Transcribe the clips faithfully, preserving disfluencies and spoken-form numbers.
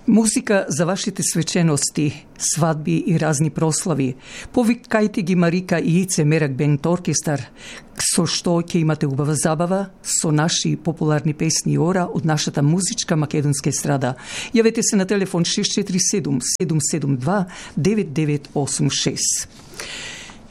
Музика за вашите свечености, свадби и разни прослави. Повикајте ги Марика и Ице Мерак Бенд Оркестар, со што ќе имате убава забава со наши популарни песни и ора од нашата музичка македонска естрада. Јавете се на телефон шест четири седум седум седум два девет девет осум шест.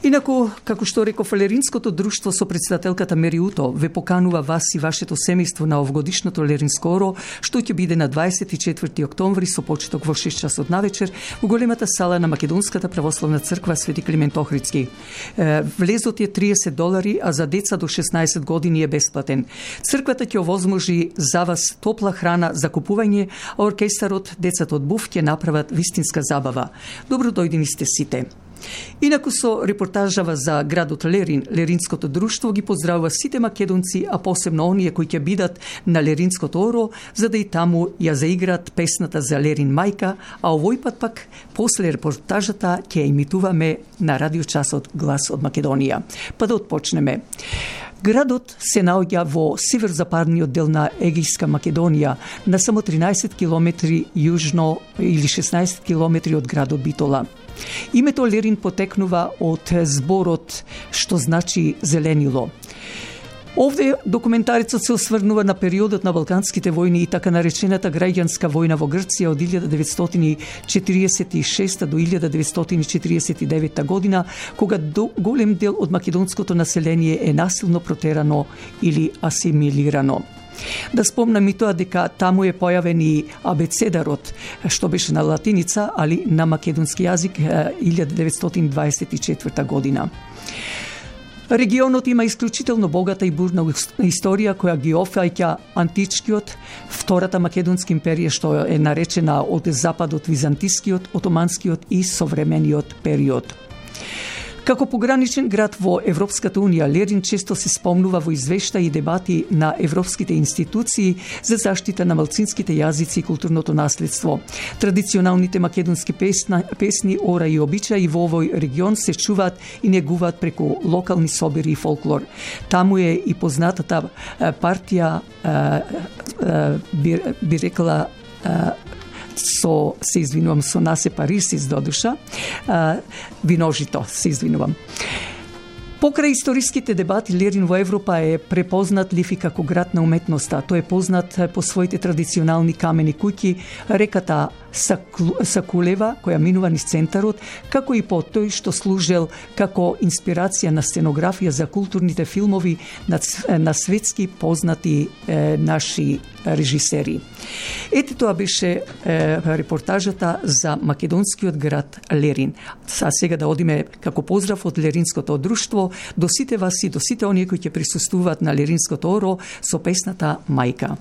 Инаку, како што реков, Леринското друштво со председателката Мери Уто ве поканува вас и вашето семејство на овогодишното Леринско оро, што ќе биде на дваесет и четврти октомври со почеток во шест часот навечер во големата сала на Македонската православна црква Свети Климент Охридски. Влезот е триесет долари, а за деца до шеснаесет години е бесплатен. Црквата ќе овозможи за вас топла храна за купување, а оркестарот, децата од БУФ ќе направат вистинска забава. Добро дојдени сте сите. Инаку со репортажава за градот Лерин, Леринското друштво ги поздравува сите македонци, а посебно оние кои ќе бидат на Леринското оро, за да и таму ја заиграат песната за Лерин мајка, а овој пат пак после репортажата ќе имитуваме на радиочасот Глас од Македонија. Па да отпочнеме. Градот се наоѓа во северозападниот дел на Егејска Македонија, на само тринаесет километри јужно или шеснаесет километри од градот Битола. Името Лерин потекнува од зборот што значи зеленило. Овде документарецот се осврнува на периодот на Балканските војни и така наречената граѓанска војна во Грција од илјада деветстотини четириесет и шеста до илјада деветстотини четириесет и девета година, кога голем дел од македонското население е насилно протерано или асимилирано. Да спомнам и тоа дека таму е појавен и абецедарот, што беше на латиница, али на македонски јазик илјада деветстотини дваесет и четврта година. Регионот има исклучително богата и бурна историја која ги офаќа античкиот, втората македонска империја што е наречена од западот византискиот, отоманскиот и современиот период. Како пограничен град во Европската унија, Лерин често се спомнува во извештаи и дебати на европските институции за заштита на малцинските јазици и културното наследство. Традиционалните македонски песна, песни, ора и обичаи во овој регион се чуваат и негуваат преку локални собири и фолклор. Таму е и познатата партија, би, би рекла, со, се извинувам, со Насе Парисис до душа, а, виножито, се извинувам. Покрај историските дебати, Лерин во Европа е препознат лив и како град на уметноста. Тој е познат по своите традиционални камени куќи, реката Сакулева, која минува низ центарот, како и по тој што служел како инспирација на сценографија за културните филмови на, на светски познати е, наши режисери. Ете тоа беше е, репортажата за македонскиот град Лерин. А сега да одиме како поздрав од Леринското друштво до сите вас и до сите оние кои ќе присуствуваат на Леринското оро со песната Мајка.